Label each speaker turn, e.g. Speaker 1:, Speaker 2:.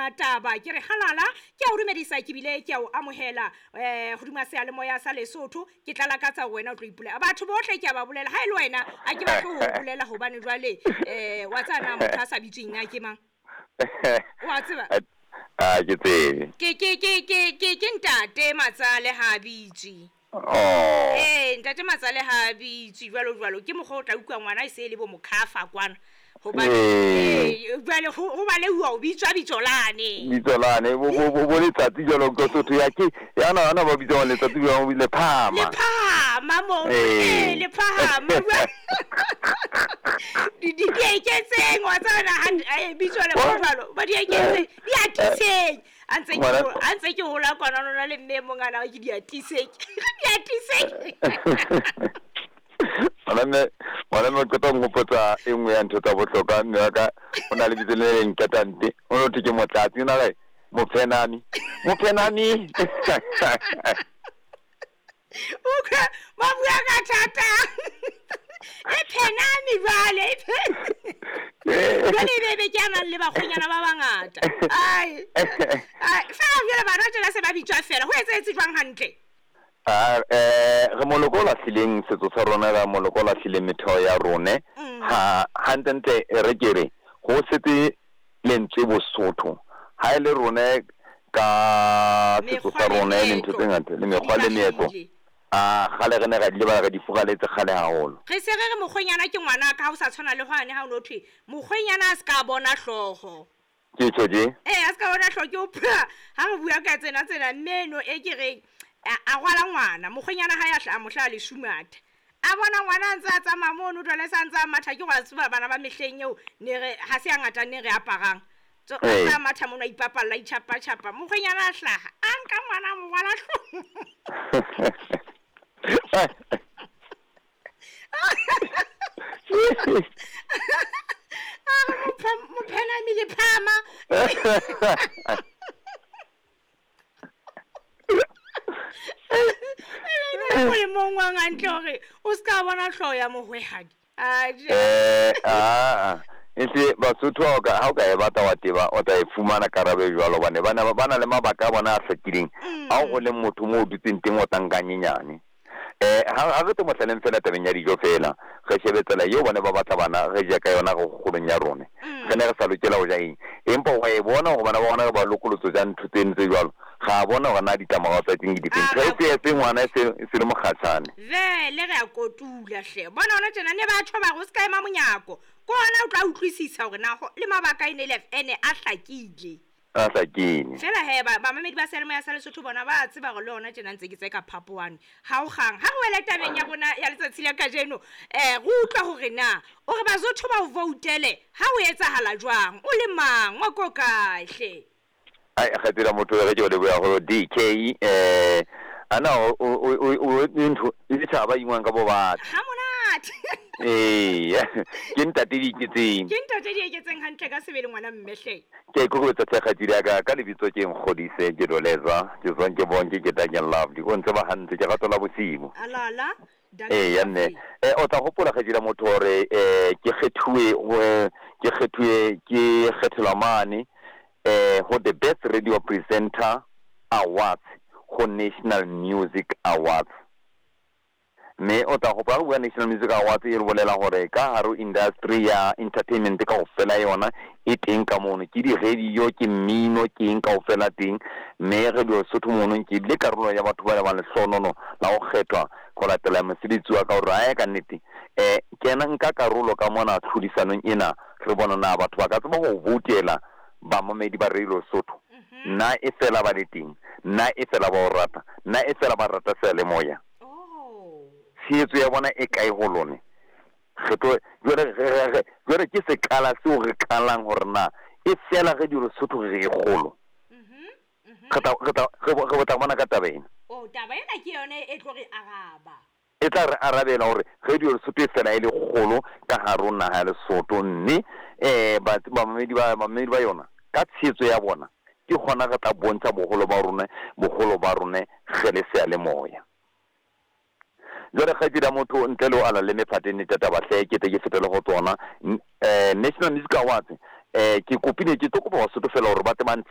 Speaker 1: Hodima taba ke re halala, ke a o dumedisa ke bile ke a o amohela hodima seyalemoya sa Lesotho. Ke tla lakatsa hore wena o tlo ipolela. Batho bohle ke a ba bolela, ha e le wena a ke batle ho bolela hobane jwale wa tseba na motho a sa bitsweng na ke mang? Wa tseba?
Speaker 2: A ke tsebe.
Speaker 1: Ke ntate Matsale ha bitswe.
Speaker 2: Oh.
Speaker 1: Eh, ntate Matsale ha bitswe jwalo jwalo. Ke mokgwa o tla utlwa ngwana e se e le bo mokhafa kwana. Hobane jwale ho baleuwa o bitswa bitso lane.
Speaker 2: Bitso lane bo letsatsi jwalo ka Sotho ya ke ya na ana ba bitsa letsatsi jwalo le phama.
Speaker 1: Le phama mo. Le phama. Di di eketseng wa tsana ha bitso le jwalo. Ba di eketseng. Di atiseng. A ntse ke hola kwana lona le mme mongana ke di atiseng. Di atiseng.
Speaker 2: Ngwana mme qeta ho nkgopotsa e nngwe ya ntho tsa bohlokwa. Mme wa ka o na le bitso le leng qetante. O no thwe ke Motlatsi, o na le Mophenami. Mophenami.
Speaker 1: Utlwa ba bua ka thata. E phenami jwale, e jwale e be ke a nang le bakgonyana ba bangata. Ai. Ai, fela jwale bana tjena se ba bitswa fela. Ho etsahetse jwang hantle?
Speaker 2: Re moloko o lahlileng setso sa rona, re moloko o lahlileng metheo ya rone. Ha hantlentle re ke re ho setse lentswe Bosotho. Ha e le rone ka setso sa rone le ntho tse ngata le mekgwa le meetlo. A kgale re ne ra di lebala, re di furaletse kgale haholo.
Speaker 1: Re se re re mokgwenyana ke ngwana ka ha o sa tshwana le hwane ha o no thwe mokgwenyana a se ka bona hlooho.
Speaker 2: Ke tjho je?
Speaker 1: Eh, a se ka bona hlooho ke o pha. Ha re bua ka tsena tsena mme eno e ke reng a rwala ngwana, mokgwenyana ha ya hlaha mohla le shumatha. A bona ngwana a ntse a tsamaya mono jwale sa ntse a matha ke wa tseba bana ba mehleng eo ne re ha se a ngata ne re aparang. Tso a matha mono a ipapalla itjhapa tjhapa. Mokgwenyana a hlaha, a nka ngwana a mo rwala hloohong. A re mophenami le phama. E mong wa hantle hore o ska bona hlooho ya mohwehadi.
Speaker 2: Ese Basotho ha o ka e batla wa teba o tla e fumana karabo e jwalo hobane ba na le mabaka a bona a hlakileng ao o leng motho moo o dutseng teng o tla nka nyenyane. Ha re tlo mohlaleng fela tabeng ya dijo fela, re shebe tsela eo bane ba batla bana re ja ka yona re kgolong ya rona. Re ne re sa lokela ho ja eng, empa wa e bona hore bana ba bona re ba lokolotso ja ntho tseno tse jwalo. Ga bona hore na ditlamorao tsa teng ke difeng. Ntho e se ngwana e se le mokgatshane.
Speaker 1: Vele re a kotula hle. Bona hona tjena ne batho ba re o ska ema monyako. Ke hona o tla utlwisisa hore na le mabaka e ne le ene a hlakile.
Speaker 2: A hlakile.
Speaker 1: Fela he ba bamamedi ba seyalemoya sa Lesotho bona ba tseba hore le hona tjena ntse ke tse ka phapoane. Ha o kgang. Ha re wele tabeng ya rona ya letsatsi la kajeno, re utlwa hore na o re Basotho ba o voutele ha o etsahala jwang, o le mang, wa ko kae hle.
Speaker 2: Ai kgatsela motho re ke o leboha ho DK ana o ntho e ditjhaba ingwang ka bo batho.
Speaker 1: Ha monate.
Speaker 2: Eh, ke ntate di iketseng.
Speaker 1: Ke ntate di iketseng hantle ka sebele ngwana mme hle.
Speaker 2: Ke ikokobetsa hle kgatsedi ya ka lebitso ke Nkgodise ke Doleza, ke tswang ke bonke ke Daniel Lovely. O ntse ba hantle ke ratola bosibo.
Speaker 1: Alala.
Speaker 2: Eh ya mme o tla hopola kgatsedi ya motho hore ke kgethuwe ke kgethelwa mane ho the Best Radio Presenter Awards ho National Music Awards. Mme o tla hopola re bua National Music Awards e re bolela hore ka hare industry ya entertainment kaofela yona e teng ka mono, ke di-radio, ke mmino, ke eng kaofela teng. Mme Radio Sotho mono ke bile karolo ya batho ba bang lehlohonono la ho kgethwa ho latela mosebetsi wa ka hore ae ka nnete kena nka karolo ka mona tlhodisanong ena, re bona na batho ba ka tseba ho voutela bamamedi ba Radio Sotho. Nna e fela ba le teng, nna e fela ba o rata, nna e fela ba rata seyalemoya. Tshehetso ya bona e kae ho lone? Re tlo jwale ke sekala seo re qalang hore na e fela Radio Lesotho re e kgolo. Re tla bona ka taba ena.
Speaker 1: Oh, taba ena ke yone e tlo re araba.
Speaker 2: E tla re arabela hore Radio Lesotho e fela e le kgolo ka hare ho naha ya Lesotho, mme bamamedi ba yona ka tshehetso ya bona ke hona re tla bontsha boholo ba rona re le seyalemoya. Jwale kgaitsedi ya motho ntle le ho ala le mephateng e tata bahle ke tle ke fetele ho tsona. National Music Awards ke kopile ke tlo kopa Basotho fela hore ba tle ba